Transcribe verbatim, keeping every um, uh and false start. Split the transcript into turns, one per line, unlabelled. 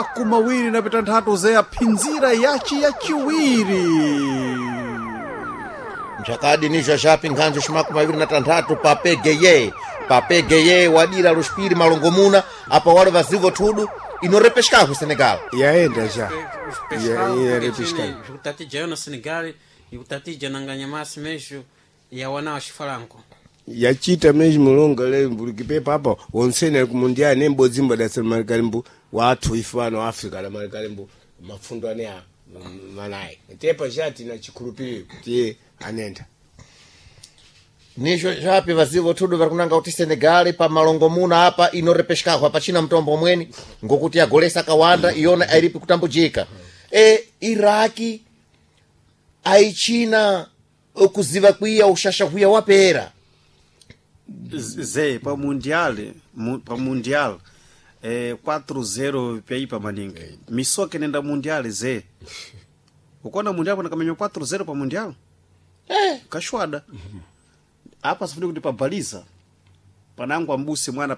Makumi awiri na pitanthatu zeya phinzira yaci yaciwiri.
Mchakadi nizvo zvapi nkhanzo ximakumi aviri na tanthatu papegeye papegeye wadira luxipiri malongomuna apa wali vazivo thudu inorepexikaku Senegal.
Yaenda já.
Os
Ya-
pescado,
ya
porque
repescado.
tinha Jukutatija no Senegal e kutatija nanganyamasi mesmo e awana waxifalanko.
Yachita mesmo longa le mbulikipepa apa wonsene ali kumundiali ne mbodzimba dasamalikalimbu wathu ife ano Africa adamalikalimbu mafundo ane a manayi tepa chati na chikhulupiriro kuti iye anenda.
Nizvo zvapi vazivo thudu vari kunanga kuti Senegal pa malongomuna apa inorepexikaku apachina mtombo mweni ngokuti yagolesa kawanda iyona airipi kutambujika e Iraki aichina kuziva kwiya ushasha hwiya wapera.
Zé, pa mundial mu, pa mundial eh, quatro zero pyaipa maningi misoke nenda mundial zé ukona mundial panakamenya quatro zero pa mundial
eh.
Kashwada apa sifuni kuti pabaliza panangwa mbusi mwana.